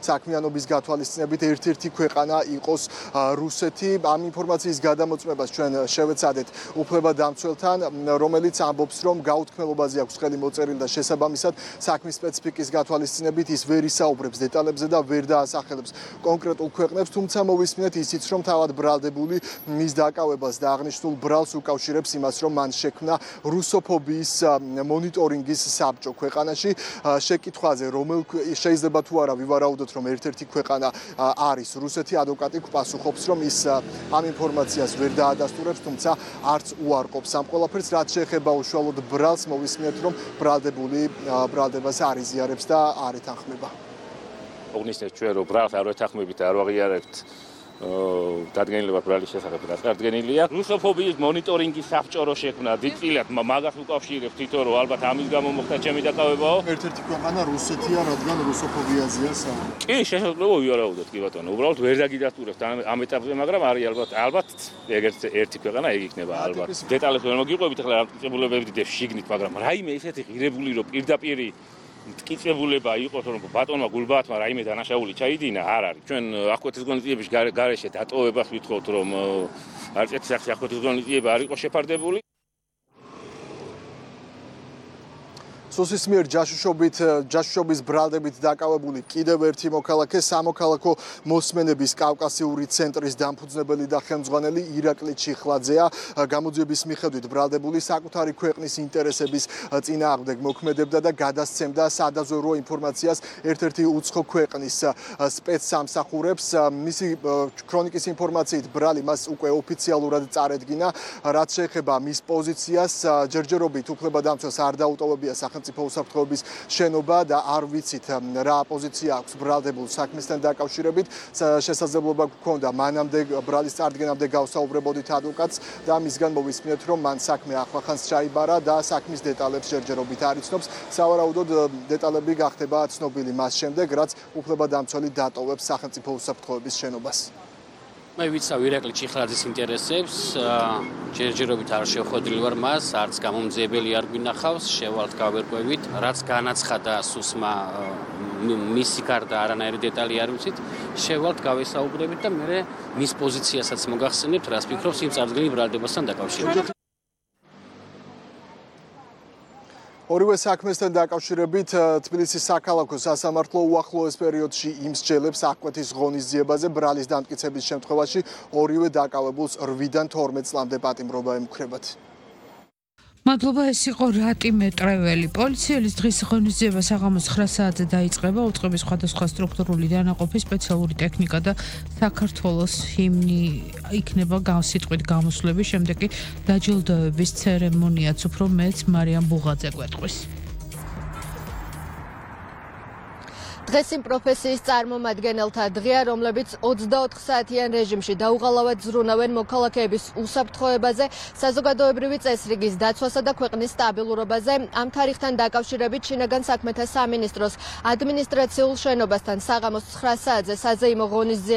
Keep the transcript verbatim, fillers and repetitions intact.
საქმიანობის გათვალისწინებით ერთ-ერთი ქვეყანა იყოს რუსეთი. Ამ ინფორმაციის გადამოწმებას ჩვენ შევეცადეთ უფლებადამცველთან, რომელიც ამბობს, რომ გაუთქმელობაზე აქვს ხელი მოწერილი და შესაბამისად საქმის სპეციფიკის გათვალისწინებით ის ვერ ისაუბრებს დეტალებზე და ვერ დაასახელებს კონკრეტულ ქვეყნებს, თუმცა მოვისმინეთ ისიც, რომ თავად ბრალდებული მის დაკავებას და აღნიშნულ ბრალს უკავშირებს იმას, რომ მან შექმნა რუსოფობიის მონიტორინგის საბჭო ქვეყანაში. Შეკითხვაზე, რომელ შეიძლება თუ არა ვივარაუდოთ, რომ ერთ-ერთი ქვეყანა არის რუსეთი, ადვოკატი პასუხობს, რომ ის ამ ინფორმაციას ვერ დაადასტურებს, თუმცა არც უარყოფს ამ ყველაფერს, რაც შეეხება უშუალოდ ბრალს, მოვისმინეთ, რომ ბრალდებული ბრალდებას არ იზიარებს და არ ეთანხმება. Ognisnet ჩვენ რომ ბრალს არ ეთანხმებით და არ ვაღიარებთ დადგენილება ბრალის შესახებ რაც დადგენილია. რუსოფობიის მონიტორინგის საბჭო რო შექმნა, დიდწილად მაგას უკავშირებს თვითონ რომ ალბათ ამის გამო მოხდა ჩემი დაკავებაო. ერთ-ერთი ქვეყანა რუსეთია, რადგან რუსოფობიაზეა საუბარი. კი, შესაძლოა ვივარაუდოთ კი ბატონო. უბრალოდ ვერ დაგიდასტურებთ ამ ეტაპზე, მაგრამ არის ალბათ ალბათ ეგ ერთი ქვეყანა ეგ იქნება ალბათ. დეტალებს ვერ მოგიყვებით, ახლა რამტკიცებულებები დებს შიგნით, მაგრამ რაიმე ისეთი ღირებული რომ პირდაპირი მტკიცებულება იყოს, რომ ბატონმა გულბაათმა რაიმე დანაშაული ჩაიდინა, არ არის. ჩვენ ახკვეთის ღონისძიების გარეშე დატოვებას ვითხოვთ, რომ არც ერთი სახის ახკვეთის ღონისძიება არ იყოს შეფარდებული. სუსის მიერ ჯაშუშობით ჯაშუშობის ბრალდებით დაკავებული კიდევ ერთი მოქალაქე, სამოქალაქო მოსმენების კავკასიური ცენტრის დამფუძნებელი და ხელმძღვანელი ირაკლი ჩიხლაძეა. გამოძიების მიხედვით ბრალდებული საკუთარი ქვეყნის ინტერესების წინააღმდეგ მოქმედებდა და გადასცემდა სადაზვერვო ინფორმაციას ერთ-ერთი უცხო ქვეყნის სპეცსამსახურებს. მისი ქრონიკის ინფორმაციით ბრალი მას უკვე ოფიციალურად წარედგინა, რაც შეეხება მის პოზიციას, ჯერჯერობით უფლებადამცველს არ დაუტოვებია სახელმწიფო უსაფრთხოების შენობა და არ ვიცით რა პოზიცია აქვს ბრალდებულ საქმესთან დაკავშირებით. შესაძლებლობა გქონდა მანამდე ბრალის წარდგენამდე გავსაუბრებოდით ადვოკატს და მისგან მოვისმინეთ, რომ მან საქმე ახლახანს ჩაიბარა და საქმის დეტალებს ჯერჯერობით არ იცნობს. სავარაუდოდ დეტალები გახდება ცნობილი მას შემდეგ, რაც უფლებადამცველი დატოვებს სახელმწიფო უსაფრთხოების შენობას. მე ვიცავ ირაკლი ჩიხლაძის ინტერესებს, ჯერჯერობით არ შევხვედრილი ვარ მას, არც გამომძიებელი არ გვინახავს, შევალთ გავერკვევით, რაც განაცხადა სუსმა მისი გარდა არანაირი დეტალი არ ვიცით, შევალთ გავესაუბრებით და მე მის პოზიციასაც მოგახსენებთ, რას ფიქრობს იმ წარდგენილ ბრალდებასთან დაკავშირებით. ორივე საქმესთან დაკავშირებით თბილისის საქალაქო სასამართლო უახლოეს პერიოდში იმსჯელებს აღკვეთის ღონისძიებაზე ბრალის დამტკიცების შემთხვევაში ორივე დაკავებულს რვიდან თორმეტ წლამდე პატიმრობა ემუქრებათ. მადლობა, ეს იყო რატი მეტრეველი. პოლიციელის დღის ღონისძიება საღამოს ცხრა საათზე დაიწყება. უწყების სხვადასხვა სტრუქტურული დანაყოფი, სპეციალური ტექნიკა და საქართველოს ჰიმნი იქნება სიტყვით გამოსვლების, შემდეგ კი დაჯილდოების ცერემონიაც უფრო მეც მარიამ ბუღაძე გვეტყვის. დღეს იმ პროფესიის წარმომადგენელთა დღეა, რომლებიც ოცდაოთხ საათიან რეჟიმში დაუღალავად ზრუნავენ მოქალაქეების უსაფრთხოებაზე, საზოგადოებრივი წესრიგის დაცვასა და ქვეყნის სტაბილურობაზე. ამ თარიღთან დაკავშირებით შინაგან საქმეთა სამინისტროს ადმინისტრაციულ შენობასთან საღამოს ცხრა საათზე საზეიმო ღონისძიება